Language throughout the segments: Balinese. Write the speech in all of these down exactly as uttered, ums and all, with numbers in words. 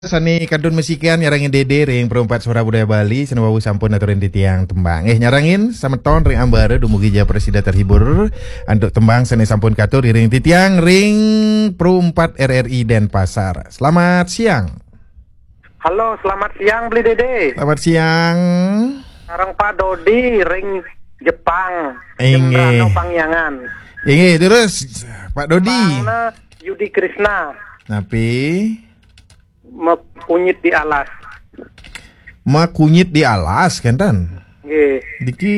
Sane kantun masikian nyarengin Dede ring Perumpat Suara Budaya Bali, sane wau sampun aturin titiang tembang. Eh, nyarengin semeton ring ambara dumugi ja prasida terhibur antuk tembang sane sampun katur ring titiang ring Perumpat R R I Denpasar. Selamat siang. Halo, selamat siang, Beli Dede. Selamat siang. Sareng Pak Dodi ring Jepang. Inggih. Jembrana Pangyangan. Inggih, terus Pak Dodi. Bangna Yudi Krisna. Napi? Makunyit di alas. Makunyit di alas, kenten? Nggih. Diki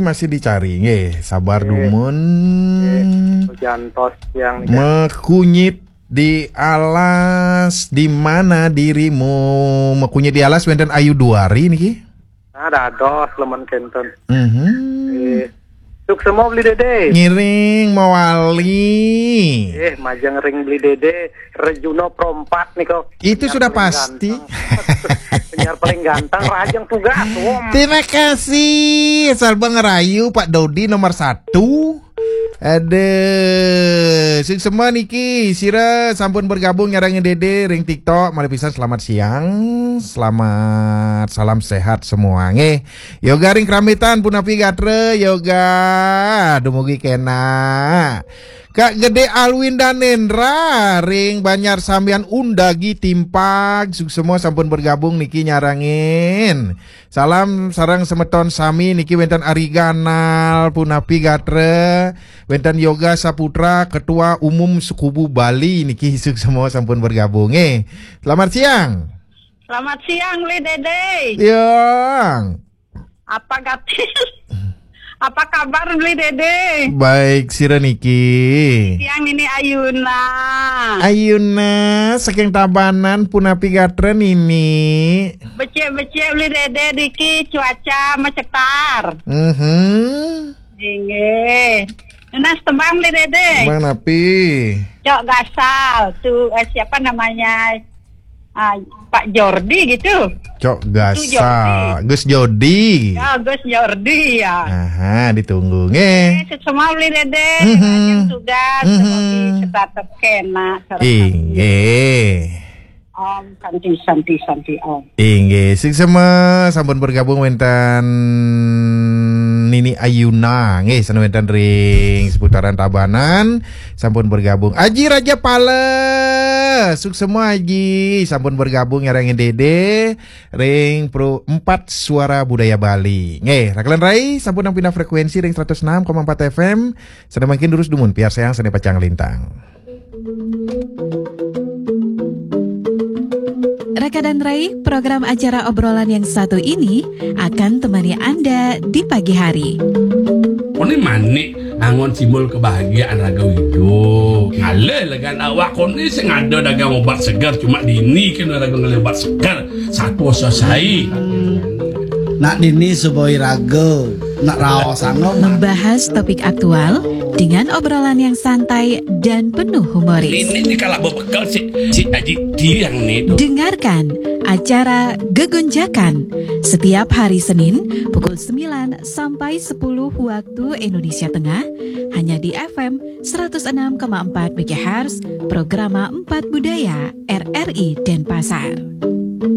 masih dicari, nggih. Sabar dumun. Nggih. Jantos yang Makunyit di alas, di mana dirimu? Makunyit di alas wenten Ayu Duari niki. Nah, dados lemen kenten. Mhm. Eh, suksma Beli Dede. Ngiring mawali. Eh, majeng ring Beli Dede, Rejuno Perumpat nika. Itu sudah pasti. Penyiar paling ganteng, rajang tugas. Terima kasih. Asal Bang Rayu, Pak Dodi nomor satu. Aduh, suksma niki, sira sampun bergabung nyarengin Dede ring TikTok. Malih pisan selamat siang, selamat, salam sehat semua nggih. Yoga ring Krambitan punapi gatra, Yoga dumugi kena. Kak Gede Alwin Danendra ring Banjar Sambian Undagi Timpag, suksma sampun bergabung niki nyarengin. Salam sareng semeton sami niki wenten Ari Ganal punapi gatra, wenten Yoga Saputra, Ketua Umum Sekubu Bali niki, suksma sampun bergabung. Eh, selamat siang. Selamat siang, Beli Dede. Siang. Apa gatil? Apa kabar, Beli Dede? Baik, sira niki. Siang, Nini Ayuna. Ayuna, saking Tabanan punapi gatra, Nini? Becik-becik, Beli Dede, niki cuaca macetar. Mhm. Inggih. Nunas tembang, Beli Dede. Tembang napi? Cok Gasal. Tu, eh, siapa namanya? Ah, Pak Jordi gitu. Cok Gasal. Jordi. Gus Jordi. Ya, Gus Jordi ya. Aha, ditunggu nggih. Eh, suksma Beli Dede, mhm, rajin tugas, mhm, semoga tetap kena. Inggih. Om Santi, Santi, Santi, Om. Inggih, suksma sampun bergabung wenten Nini Ayuna, nggih, sane wenten ring seputaran Tabanan, sampun bergabung. Aji Raja Pala, suksma Aji, sampun bergabung nyarengin Dede ring Pro empat Suara Budaya Bali. Nggih, rakelan rai sampun pindah frekuensi ring seratus enam koma empat F M, sane mangkin durus dumun, piarsayang sane pacang lintang. Rekan dan Rai, program acara obrolan yang satu ini akan temani Anda di pagi hari. Ini manik angon simbol kebahagiaan raga hidup. Ngale legan awak koni sing ada dagang obat segar, cuma dini kena raga ngale obat segar. Satu selesai. Nak dini suboi raga, nak raos angom. Membahas topik aktual dengan obrolan yang santai dan penuh humoris. Ini, ini kalau bebekel si, si Aji Tiang nih tuh. Dengarkan acara Gegonjakan setiap hari Senin pukul sembilan sampai sepuluh waktu Indonesia Tengah, hanya di F M seratus enam koma empat megahertz, Programa empat Budaya R R I Denpasar.